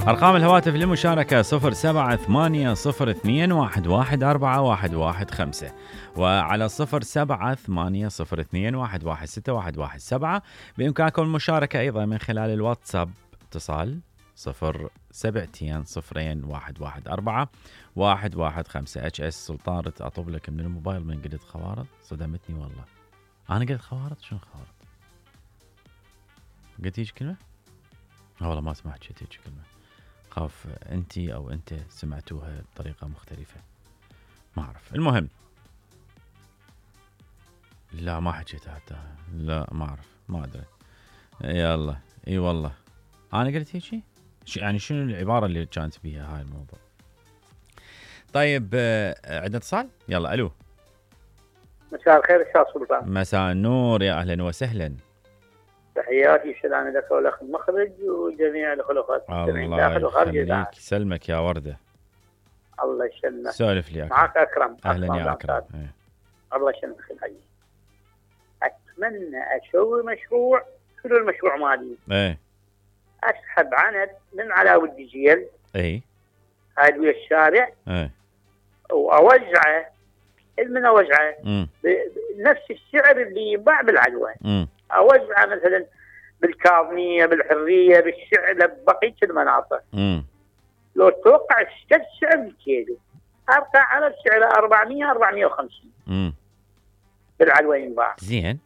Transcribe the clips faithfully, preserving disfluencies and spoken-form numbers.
أرقام الهواتف للمشاركة صفر سبعة ثمانية صفر اثنين واحد واحد أربعة واحد واحد خمسة وعلى صفر سبعة ثمانية صفر اثنين واحد واحد ستة واحد واحد سبعة. بإمكانكم المشاركة أيضا من خلال الواتساب اتصال صفر سبعتين صفرين واحد واحد أربعة واحد واحد خمسة. اتش اس سلطان رت أطلب لك من الموبايل من قلت خوارض صدمتني والله. أنا قلت خوارض شنو خوارض؟ قلت هيك كلمة؟ والله ما سمعت شيء هيك كلمة. خاف أنتي أو أنت سمعتوها بطريقة مختلفة ما أعرف. المهم لا ما حكيتها حتى لا ما أعرف ما أدري. يلا إي والله أنا قلت هيك شيء يعني شنو العبارة اللي كانت بيها هاي الموضوع. طيب عندنا اتصال يلا. ألو مساء الخير استاذ سلطان. مساء النور يا أهلا وسهلا. تحياتي وسلامي لك ولأخ المخرج وجميع الخلفاء الله يخليك سلمك يا وردة. الله يسلمك. سولف لي أكرم. معك أكرم. أهلا يا أكرم. ايه. الله يسلمك الحي. أتمنى أسوي مشروع شنو المشروع مالي؟ ايه أسحب عند من علاوي الدجيل ايه هاي ويا الشارع ايه وأوزعه من أوزعه امم بنفس السعر اللي يباع بالعلوة. امم أوزعه مثلا بالكاظمية بالحرية بالسعر ببقية المناطق. امم لو توقع اشتد سعر الكيلو أرقى على سعر أربعمية أربعمية وخمسين امم بالعلوة ينباع. زين.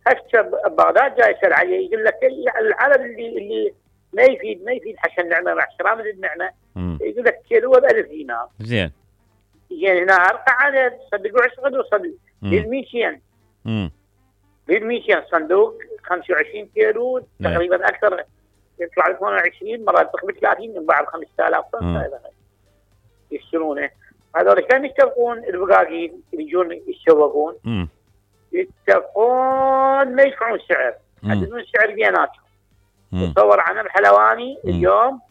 هسه بغداد جاي يسأل عليه يقول لك العلب اللي اللي ما يفيد ما يفيد حسن نعمة مع احترام النعمة يقول لك كيلو بألف دينار. زين. زين هنا أرقى على صدقوا عشرة وصل بالميتين. امم بالميتين صندوق خمسة وعشرين كيلو تقريبا أكثر يطلع ل ثمانية وعشرين مرات تقريبا ثلاثين ينباع ب خمسة آلاف يشترونه. هذول كانوا يتفقون البقاقين اللي يجون يتسوقون امم يتفقون ما يدفعون سعر يحددون سعر بيناتهم. تصور عن الحلواني مم. اليوم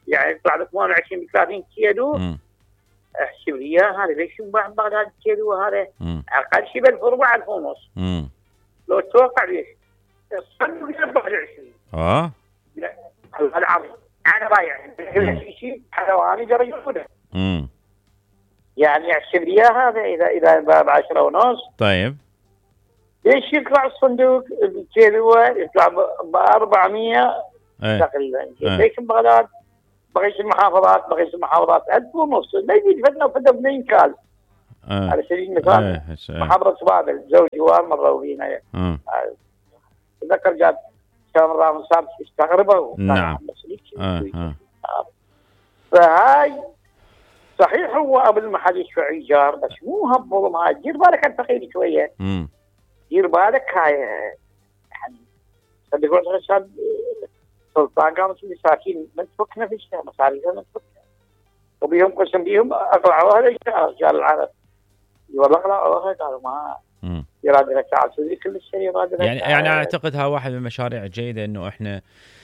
يعني يطلع ب ثمانية وعشرين ب ثلاثين كيلو. مم. احسب لي اياه هذا ليش ينباع ببغداد الكيلو هذا اقل شيء ب ألف وأربعة ألف ونص. لو تتوقع ليش؟ الصندوق ب أربعة وعشرين. اه لا العرض انا بايع شيء حلواني جرى ياخذه. امم يعني احسب لي اياه هذا اذا اذا ب عشرة ونص. طيب ليش يطلع الصندوق الكيلو يطلع ب أربعمية ايه. تقريبا. ايه. ليش بغداد بقيت المحافظات بقيت المحافظات ألف ونص لا يجي فتنا وفتنا اثنين كال. ايه. على سبيل المثال ايه. محافظة بابل زوجي وار مروا فينا. امم تذكر جاب كان رامي صار استغربوا. نعم. اه اه فهاي صحيح هو ابو المحل يدفع ايجار بس مو هالظلم هاي. دير بالك الفقير شويه. امم دير بالك هاي يعني صدقوا الرشاد سلطان قامت المساكين من تفك نفسها مصاريها من تفكها وبيهم قسم بيهم اقلعوها رجال العرب والله اقلعوها قالوا ما يراد لها تعال تدري كل الشيء يراد لها. يعني يعني اعتقد ها واحد من المشاريع الجيده انه احنا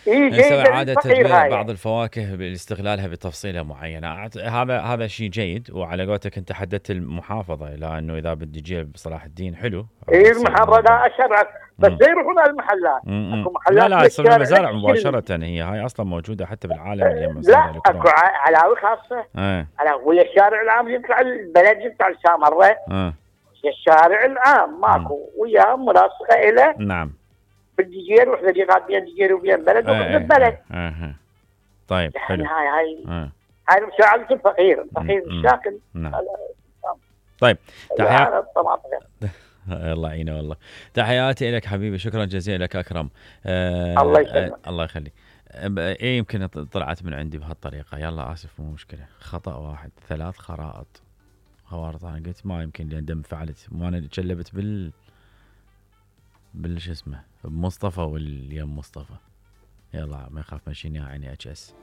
إيه نسوي عاده تدوير بعض الفواكه باستغلالها بتفصيله معينه. هذا هذا شيء جيد. وعلى قولتك انت حددت المحافظه لانه اذا بدي اجي بصلاح الدين حلو. اي المحافظه لا اشرع بس لا يروحون على المحلات. اكو محلات لا لا تصير المزارع مباشره. هي هاي اصلا موجوده حتى بالعالم اليوم. لا اكو علاوي خاصه. اه على ويا الشارع العام يطلع البلد يطلع السامره. اه الشارع العام ماكو وياه ملاصقه له. نعم. بالدجير وحده جهات بين دجير وبين بلد وبين البلد. اها طيب حلو. هاي هاي آه. هاي مساعدة الفقير الفقير الشاكل. نعم. طيب تحياتي الله يعينه والله. تحياتي لك حبيبي شكرا جزيلا لك أكرم. آه الله يسلمك. آه الله يخليك. ايه يمكن طلعت من عندي بهالطريقة. يلا آسف مو مشكلة. خطأ واحد ثلاث خرائط خوارط. أنا قلت ما يمكن لأن دم فعلت وأنا تشلبت بال بالش اسمه بمصطفى واليوم مصطفى. يلا ما يخاف ماشيني عيني اتش اس.